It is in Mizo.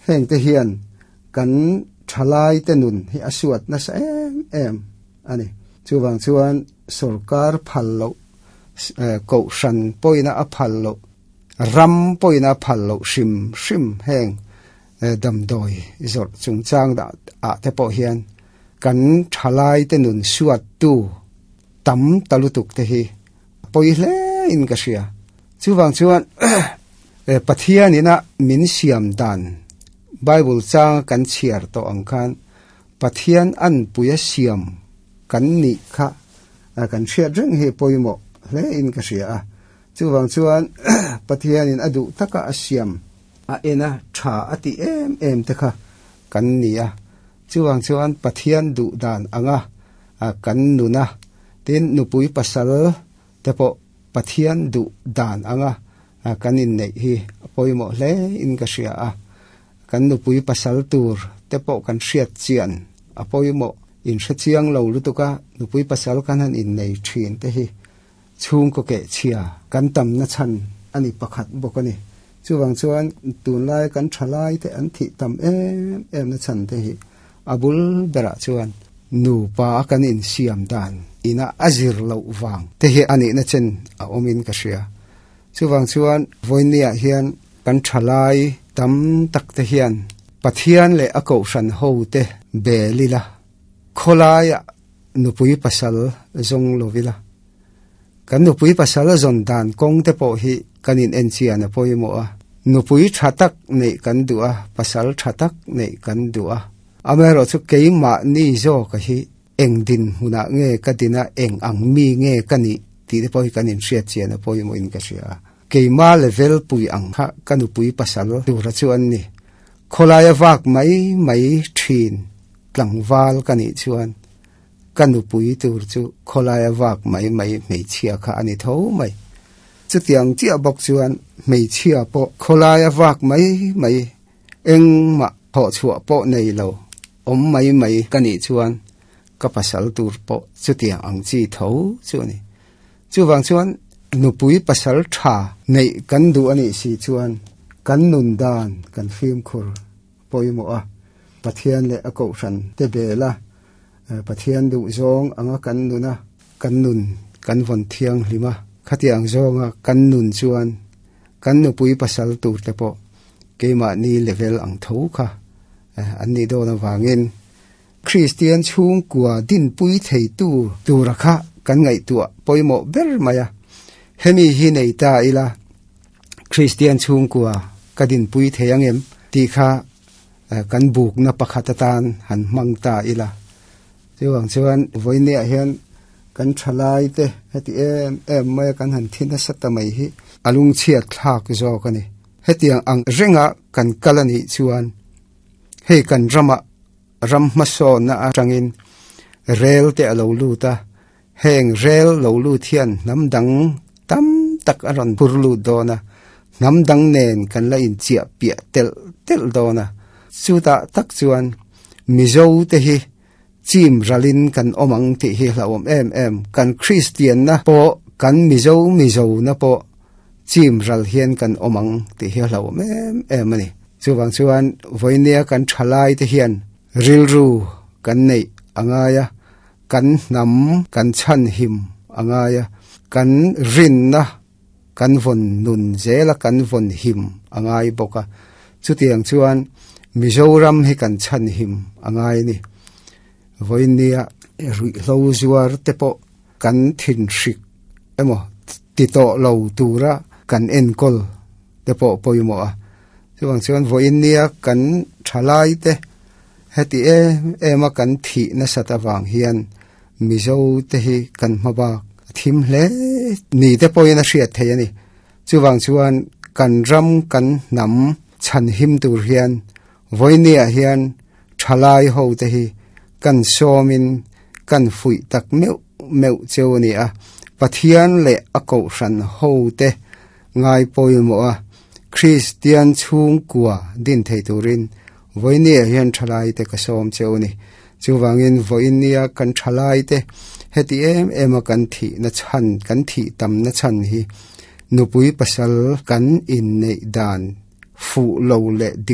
Heng te hian kan thalai te nun hi a suat nasa em em a ni. Chuvang chuan sorkar phal loh, kohhran pawina a phal loh, ram pawina a phal loh hrim hrim heng damdawi zawrh chungchang ah te pawh hian kan thalai te nun suattu tam ta lutuk te hi a pawi hle in ka hria. Chuvang chuan Pathian ina min siam dan Bible changa kan chhiar tawh ang khan Pathian anpuia siam kan nih kha kan hriat reng hi pawimawh hle in ka hria a. Chuvang chuan Pathianin a duh taka a siam a en a tha a tih em em te kha kan ni a. Chuvang chuan Pathian duh dan anga kan nun a, tin nupui pasal te pawh Pathian duh dan anga kan inneih hi a pawimawh hle in ka hria a. Kan nupui pasal tur te pawh kan hriat chian a pawimawh. Inhre chiang lo lutuk a nupui pasal kan han innei thin te hi chhungkaw keh chhia kan tamna chhan a ni pakhat bawk a ni. Chuvang chuan tunlai kan thalai te an thih tam em em na chhan te hi a bul berah chuan nupa a kan insiam dan ina a zir loh vang te hi a nihna chen a awmin ka hria. Chuvang chuan vawinia hian kan thalai tam tak te hian Pathian leh a kohhran ho te bel ila, khawlaiah nupui pasal zawng lo ila, kan nupui pasal zawn dan kawng te pawh hi kan in en chian a pawimawh a, nupui tha tak neih kan duh a, pasal tha tak neih kan duh a, amaherawhchu keimahni zawka hi Eng dinhmunah nge ka din a, eng ang mi nge ka nih tih te pawh hi kan inhriat chian a pawimawhin ka hria a. Keima level pui ang kha ka nupui pasal tura chu an ni. Khawlaia vak mai mai thin tlangval ka nih chuan ka nupui tur chu khawlaia vak mai mai hmeichhia kha a ni tho mai. Chutiang chiah bawk chuan hmeichhia pawh khawlaia vak mai mai Engmah thawhchhuah pawh nei lo, awm mai mai ka nih chuan ka pasal tur pawh chutiang ang chi tho chu a ni. Chuvang chuan nupui pasal tha neih kan duh a nih si chuan kan nun dan kan fimkhur pawimawh a, Pathian leh a kohhran te bel a, Pathian duh zawng anga kan nun a, kan nun kan vawn thianghlim a, khatiang zawnga kan nun chuan kan nupui pasal tur te pawh keimahni level ang tho kha an nih dawn avangin Kristian chhungkua dinpui theitu tura kha kan ngaihtuah pawimawh ber mai a. Hemi hi nei ta ila Kristian chhungkua ka dinpui thei ang em tih kha kan bukna pakhat atan han hmang ta ila. Chuvang chuan vawinia hian kan thalai te heti em em mai a kan han thi nasa ta mai hi a lungchhiat thlak zawk a ni. Hetiang ang renga kan kal a nih chuan hei kan ramah ram hmasawnna atangin rel te a lo lut a, heng rel lo lut hian hnam dang tam tak a rawn phur lut dawn a, hnam dang nen kan la inchiah piah telh telh dawn a, chutah tak chuan Mizo te hi chim ralin kan awm ang tih hi hlauhawm em em. Kan Kristianna pawh, kan Mizo Mizona pawh chim ral hian kan awm ang tih hi hlauhawm em em a ni. Chuvang chuan vawinia kan thalai te hian rilru kan neih a ngai a, kan hnam kan chhanhim a ngai a, kan rinna kan vawn nun zel a, kan vawn him a ngai bawk a. Chutiang chuan Mizoram hi kan chhan him a ngai a ni. Vawinia ruihhlo zuar te pawh kan thinhrik emaw ti tawh lo tura kan enkawl te pawh pawimawh a. Chuvang chuan vawinia kan thalai te heti em em a kan thih nasat avang hian Mizo te hi kan hma bak a thim hle ni te pawhin a hriat theih a ni. Chuvang chuan kan ram kan hnam chhan him tur hian vawinia hian thalai ho te hi kan sawmin kan fuih tak meuh meuh cheu a ni a. Pathian leh a kohhran ho te ngai pawimawh a, Kristian chhungkua din thei turin vawinia hian thalai te ka sawm cheu a ni. Chuvangin vawinia kan thalai te heti em em a kan thih na chhan, kan thih tam na chhan hi nupui pasal kan inneih dan fuh lo leh dik.